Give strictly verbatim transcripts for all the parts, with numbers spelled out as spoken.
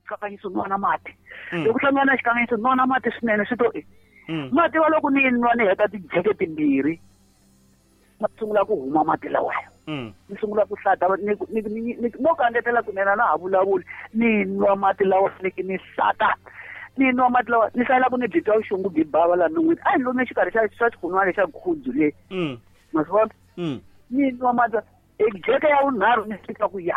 Xikanyiso nwana mati loko hlangana na xikanyiso nwana mati swinene swi to mati wa loko ni nwa ni heta tijeke timbirhi ma sungula ku huma mati lawaya ni sungula ku hlata ni ni no kangetela kunene na ha vulavuli ni nwa mati lawa ni ni hlata ni nwa mati lawa ni hlayela ku ni byi twa vuxungu byi bava la non'wini a hi lomu exikarhi xa xa xikunwana xa khudzu le ma swi vona ni nwa mati jeke ya vunharhu ni fika ku ya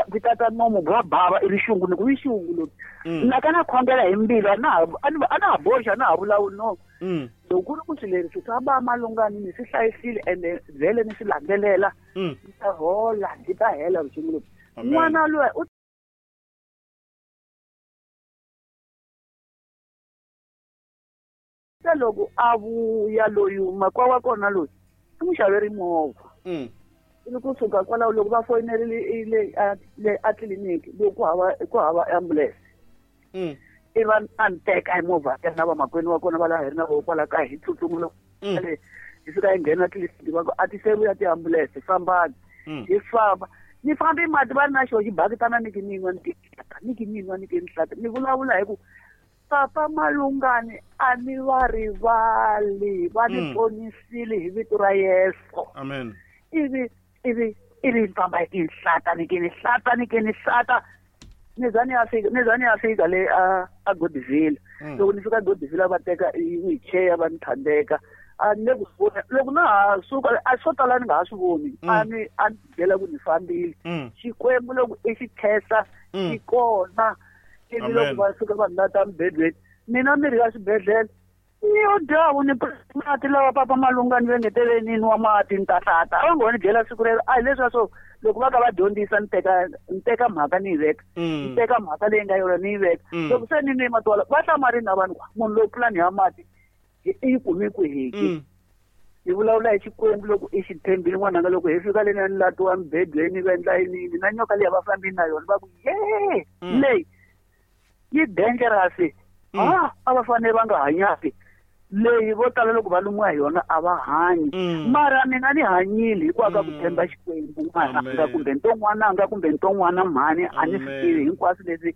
byi tata nomo bya bava i rixungu ni ku i xungu loyi na ka na khongela hi mbilu a na ha a na ha boxa a na ha vulavuli no loko ku ri ku swilo leswi swa ba malungani ni swi hlayisile ende vhele ni swi landzelela ni ta hola byi ta hela vuxungu lebyi n'wana loyi u ta loko a vuya loyi makwa wa kona loyi i n'wi xaveri movha ivi kusuka kwalaho loko va foyinerile le le a tliliniki loko ku hava ku hava ambulance i va a ni teka hi movha ya na vamakwenu wa kona va laha hi ri na voho kwala kaya hi tsutsuma loko le hi fika hi nghena tliliniki va ku a ti se vuya tiambulense fambani hi famba ni fambi mati va ri na xo xibakitana ni ki ni nwa ni ki ni ki ni nwa ni ki ni hlata ni vulavula hi ku Papa Malungani a ni va rivali va ni ponisile hi vito ra Yesu amen ivi ivi ivi ni famba hi tinhlata ni ke ni hlata ni ke ni hlata ni za ni ya fika ni za ni ya fika le a a Godville loko ni fika Godville va teka wheelchair va ni thandeka a ni le ku vona loko na ha suka a swo tala ni nga ha swi voni a ni a ni byela ku ni fambile Xikwembu loko i xi khensa xi kona ivi loko va suka vanhu lata mubedweni mina mirhi ya swibedhlele yo dyavu ni mati lawa Papa Malungani va ngetele ni nwa mati ni ta hlata a va ngo ni byela siku rero a hi leswiya swo loko va ka va dyondzisa ni teka ni teka mhaka ni yi veka ni teka mhaka leyi nga yona ni yi veka loko se ni nwe mati walawo va hlamarini na vanhu munhu loyi pulani ya mati i yi kumi kwihiki hi vulavula hi Xikwembu loko i xi tshembile n'wananga loko hi fika le na ni latiwa mubedweni va endla yini yini na nyoka leyi va fambini na yona va ku ye leyi yi dangerous ah a va fanele va nga hanyaki leyi vo tala loko va lumiwa hi yona a va hanyi mara mina ni hanyile hikwalaho ka ku tshemba Xikwembu n'wananga kumbe nton'wananga kumbe nton'wana mhani a ni swi tivi hinkwaswo leswi